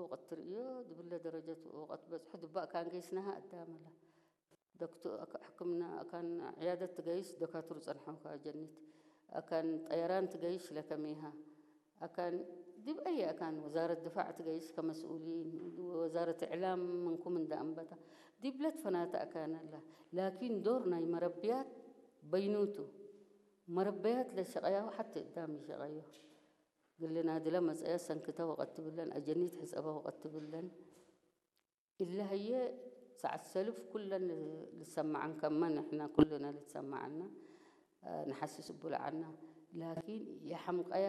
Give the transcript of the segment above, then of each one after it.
ወቐት ትርእዮ ድብለ ደረጀት ወቐት በጽሑ ድባእ ካን ገይስናሃ ኣዳመላ ዶክቶ ሕክምና ኣካን ዕያደት ትገይስ ደካቱር ጸንሐው ካጀኒት ኣካን ጠየራን ትገይሽ ለከሜሃ ኣካን ዲብ ኣየ ኣካን ወዛረት ድፋዕ ትገይሽ ከመስኡሊን ወዛረት እዕላም ምንኩም እንዳ ኣንበታ ዲብለት ፈናተ ኣካን ኣላ ላኪን ዶር ናይ መረብያት በይኑቱ መረበያት ለሸቐያው ሓቲ እዳም ይሸቐዮ ግልና ድለ መጸያ ሰንክተ ወቐት ትብለን ኣጀኒት ሕጸበ ወቐት ትብለን ኢላህየ ሰዓት ሰልፍ ኩለን ልሰማዓን ከመ ንሕና ኩልና ልትሰማዓና ንሓስስ እቡልዓና ላኪን የሓምቀያ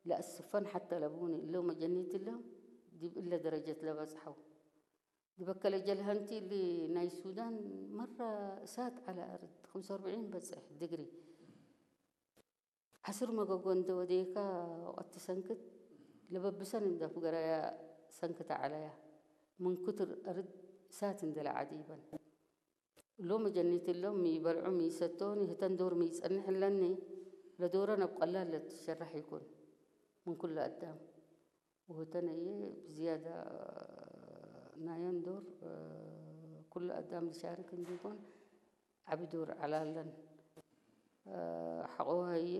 ለኣስፈን ሓተ ለቡኒ እለው መጀኒት እለው ዲብ እለ ደረጀት ለበጽሐው ድበከለ ጀልሀንቲ እሊ ናይ ሱዳን መራ እሳት ዓለ ኣርድ خمسة وأربعين በጽሕ ድግሪ ዓስር መገጎ እንደ ወደየካ ወቐት ትሰንክት ለበብሰን እንደ ፍገራያ ሰንክት ዓለያ ምን ክትር ኣርድ እሳት እንደ ለዓዲበን እሎም ጀኒት እሎም ሚበልዑ ሚሰቶኒ ህተን ዶር ሚጸንሕ ለኒ ለዶረ ነብ ቀላል ለትሸራሕ ይኩን ምን ኩሉ ኣዳም ወህተን እየ ብዝያዳ ናየን ዶር ኩሉ ኣዳም ዝሻርክ እንዲኮን ዓቢ ዶር ዓላለን ሓቆ እየ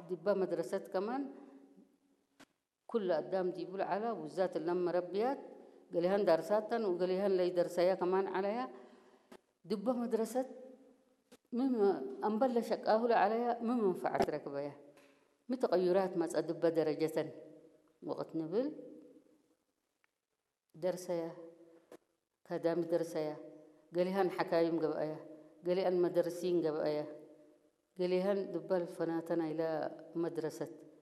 ዲባ መድረሰት ከማን ኩሉ ኣዳም ዲቡ ለዓላ ውዛት እለን መረብያት ገሊሃን ዳርሳተን ወገሊሃን ለይደርሰያ ከማን ዓለያ ድበ መድረሰት ምን ኣንበለ ሸቃሁ ለዓለያ ምን መንፈዓት ረክበያ ምን ተቀዩራት መጸ ድበ ደረጀተን ወቅት ንብል ደርሰያ ካዳሚ ደርሰያ ገሊሃን ሓካይም ገብአያ ገሊአን መደርሲን ገብአያ ገሊሃን ድበል ፈናተና ኢላ መድረሰት